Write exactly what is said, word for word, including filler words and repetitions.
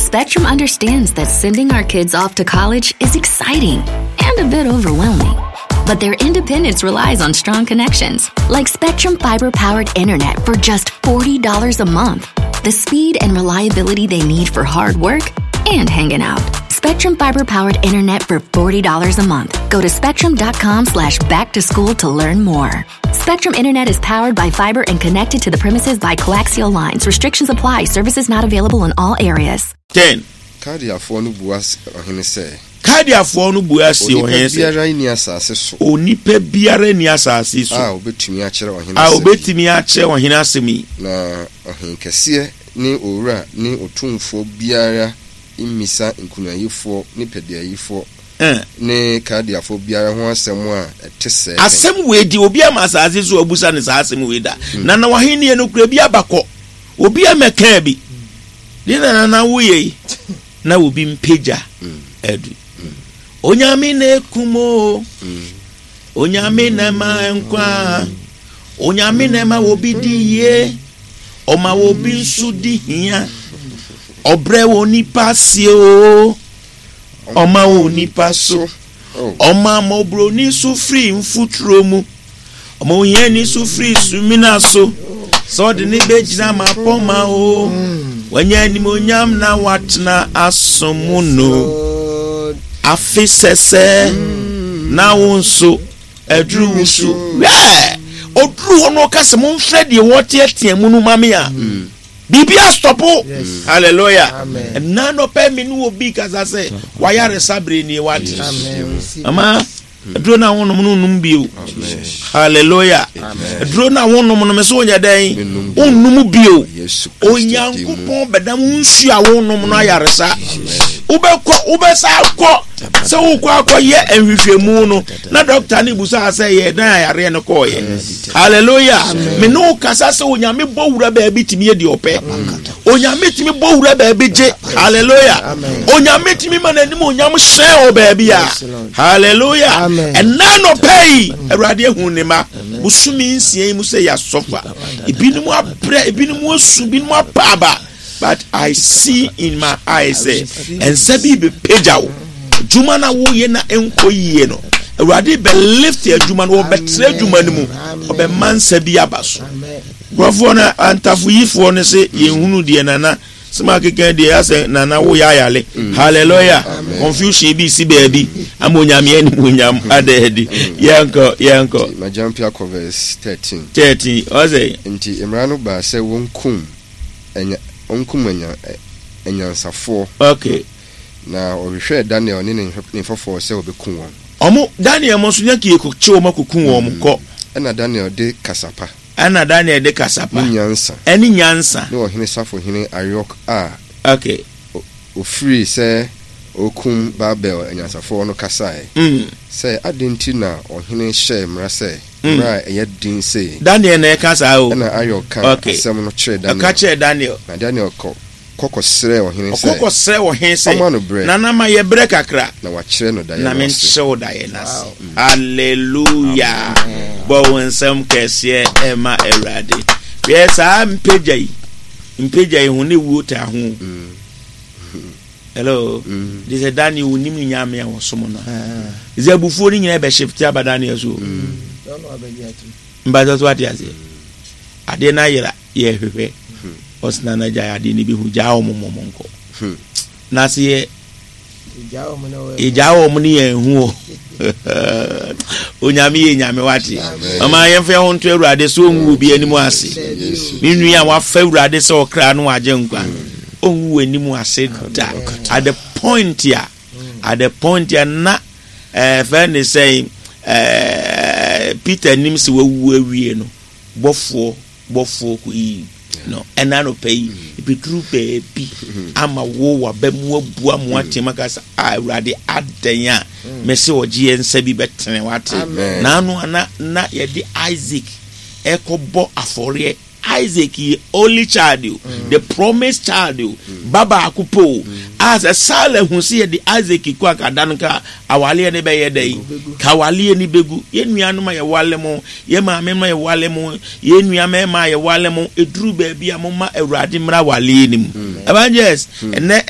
Spectrum understands that sending our kids off to college is exciting and a bit overwhelming. But their independence relies on strong connections, like Spectrum Fiber powered internet for just forty dollars a month. The speed and reliability they need for hard work and hanging out. Spectrum Fiber powered internet for forty dollars a month. Go to spectrum dot com slash back to school to learn more. Spectrum Internet is powered by fiber and connected to the premises by coaxial lines. Restrictions apply. Services not available in all areas. Ten. Kaldeafoɔ no bua ɔhene sɛ, Kaldeafoɔ no bua si Onipa ɔhene sɛ, biara nni asase so onipa biara nni asase so a obetumi akyerɛ ɔhene a asɛm yi. Obetumi akyerɛ ɔhene asɛm yi. Na ɔhenkɛseɛ ne owura ne otumfoɔ biara mmisa nkonyayifoɔ ne pɛdeayifoɔ Ɛn. ne Kaldeafoɔ biara ho asɛm a ɛte sɛɛ pɛn. Asɛm wei di obi ama asase so abusa ne saa asɛm wei da na na wahenni no kura bi abakɔ obi amɛkaa bi de na nana woyɛ yi na obi mpagya adu. Onyame na ekum o, Onyame na ɛma nkwa, Onyame na ɛma obi di yie, ɔma obi nso di hia, ɔbrɛ wɔ nipa sie o, ɔma wɔ nipa so. Oh. Ɔma mmɔborɔni so firi mfuturo mu, ɔma ohiani so firi sumina so, sɛ ɔde ne bɛgyina mapɔma o, wanya animonyam na watena asom no. Afe sɛsɛ na wo nso aduru wo so wɛɛ ɔduru hɔ no, ɔka sɛ momfrɛ deɛ wɔteatea mu no ma me a biribi astop. Hallelujah. Amen. Ɛna nɔpɛ me ne obi kasa sɛ wayaresa bere nie wate. Amen. Receive. Ama aduro no a wonom no nnom bio. Hallelujah. Aduro no a wonom no, me so wonyɛ dɛn? Mennom bio. Wonnom bio. Yesu Kristo din mu. Onyankopɔn bɛdam wo nsuo a wonom no ayaresa. Wobɛkɔ, wobɛsa akɔ sɛ wokɔ akɔyɛ nhwehwɛmu no na dɔkta no busaa sɛ yɛ dan ayareɛ no kɔɔyɛ. Hallelujah. Me ne wo kasa sɛ Onyame bɔ wura baabi tumi yɛ deɛ ɔpɛ. Onyame tumi bɔ wura baabi gye. Hallelujah. Onyame tumi ma n'anim onyam hyɛn wɔ baabi a. Hallelujah. Amen. Ɛna nɔpɛ yi, Awurade ahu ne ma bosome nsia yi mu sɛ yɛasɔfa ebinom abrɛ, ebinom asu, ebinom apa aba, but I see in my eyes sɛ nsa bi bɛpagya wo adwuma no a woyɛ na ɛnkɔ yie no. Awurade bɛ lift adwuma no, wɔbɛtrɛ adwuma no mu, ɔbɛma nsa bi aba so. Amen. Nkurɔfoɔ no, antafoyifoɔ no sɛ yɛnhunu deɛ nana sɛm akeka deɛ asɛ nana woyɛ ayale. Hallelujah. Confusion bi si baabi ama Onyame animonyam ada adi. Yɛnkɔ, yɛnkɔ. Nti magyampe akɔ verse thirteen. thirteen ɔsɛ. Nti mmara no baa sɛ wɔnkum anya wɔnkum anya ɛ- anyansafoɔ. Okay na ɔhwehwɛɛ Daniel ne ne nhwɛ- ne mfɔfoɔ sɛ wɔbɛku wɔn. Ɔmo Daniel mo nso nyɛ kie kɔkye wɔn akɔku wɔn kɔ. Ɛna Daniel de kasa pa Ɛna Daniel de kasa pa ne nyansa ɛne nyansa ne ɔhene safohene Ariok a okay ofirii sɛ ɔrekum Babel anyansafoɔ no kasae mm. sɛ, adɛn nti na ɔhene hyɛɛ mmara sɛ mmara a ɛyɛ den sei? Daniel na ɛka saa o. Ɛna Ariok ka Okay. asɛm no kyerɛɛ Daniel. Ɛka kyerɛ Daniel. Na Daniel kɔ kɔkɔsrɛɛ ɔhene sɛ ɔkɔkɔ srɛ ɔhene sɛ ɔma no berɛ nana ma yɛ berɛ kakra na wakyerɛ no daeɛ na no ase. Menkyerɛ wo daeɛ no ase. Hallelujah. Bɔ wo nsɛm kɛseɛ ɛma Awurade. Hwɛ, saa mpagya yi, mpagya yi ho ne wuo taa ho o. Hello. De sɛ Daniel wonim ne Nyame a wɔsom no a, sɛ abufuo no nyinaa bɛhyefte aba Daniel so o. Mbatɔ so ate aseɛ, adeɛ no ayera, yɛhwehwɛ ɔsena no agya adeɛ no bi hu gyaa wɔ mo mmɔ nkɔ na sɛ yɛ yɛgyaa wɔ mo ne yɛn hu o. Onyame yɛ Nyame wate. Mama yɛmfa yɛn ho nto Awurade so, ɔngu obi anim ase. Me nua a wafa Awurade sɛ ɔkra no wagye nkwa, ɔngu w'anim ase da. At the point a at the point a na ɛɛ fɛn ne sɛn ɛɛ Peter nim sɛ wawu awie no, bɔfoɔ bɔfoɔ kɔ yi no. Ɛna anɔpɛ yi ebeduru baabi ama wo waba mu abu amu atem aka sɛ a Awurade adan a mɛsɛ ɔgye yɛn nsa bi bɛtene wate. N'ano ana na yɛde Isaac ɛkɔbɔ afɔreɛ. Isaac yɛ only child o, the promised child o, ba baako po o, a sɛ Sara hu sɛ yɛde Isaac kɔ akada no ka awaleɛ no bɛyɛ dɛ yi ka awaleɛ no bɛgu. Yɛn nuanom a yɛwale mo, yɛn maame mo a yɛwale mo, yɛn nua mmarima a yɛwale mo, eduru baabi a mo ma Awurade mmra awaleɛ no mu. Evangelist, ɛnɛ